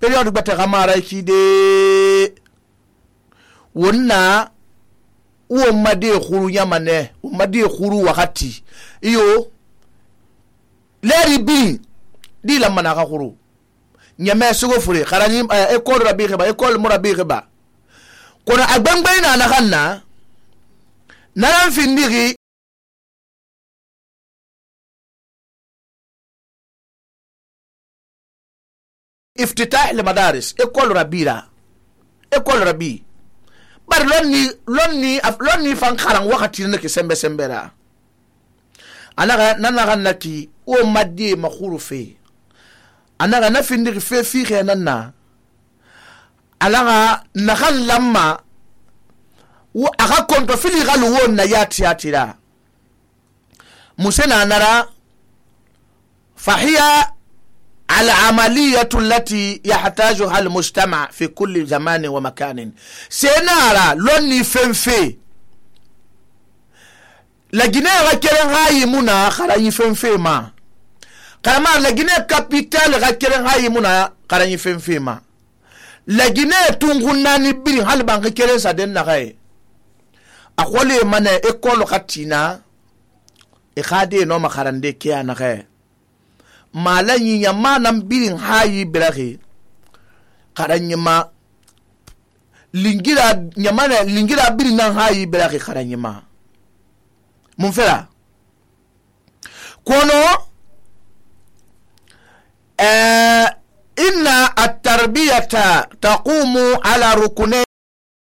periode gbata gamara kide wonna wo made khuru yamane wo made khuru wakati iyo leri bi di la mana khuru nyame sugo fure kharani école rabi khaba école murabi khaba kono agbangbayna na khanna naran findigi افتتاح لمدارس école rabi bar lonni fan kharan wakati nake sembera anaga nanaga naki o maddi makhuru fe anaga na findigi fe fi khenanna alaga nakhan lamma wa aga konto fili galu wonna yatira musena nara fahiya العملية التي يحتاجها المجتمع في كل زمان ومكان سينارا لوني فنفي لجنة غكرن هاي منا خراني فنفي ما كما لجنة كابيتال غكرن هاي منا خراني فنفي ما لجنة تونغناني بين هالبان غكرن سادن نغاي أقولي من إكول خاتينا إخادي نوما خراندي كيا نغاي malanyi nyama nan birin hayi birahe karanyima lingira nyama lingira birin nan hayi birahe karanyima mun fera kono inna at-tarbiyata taqumu ala rukunay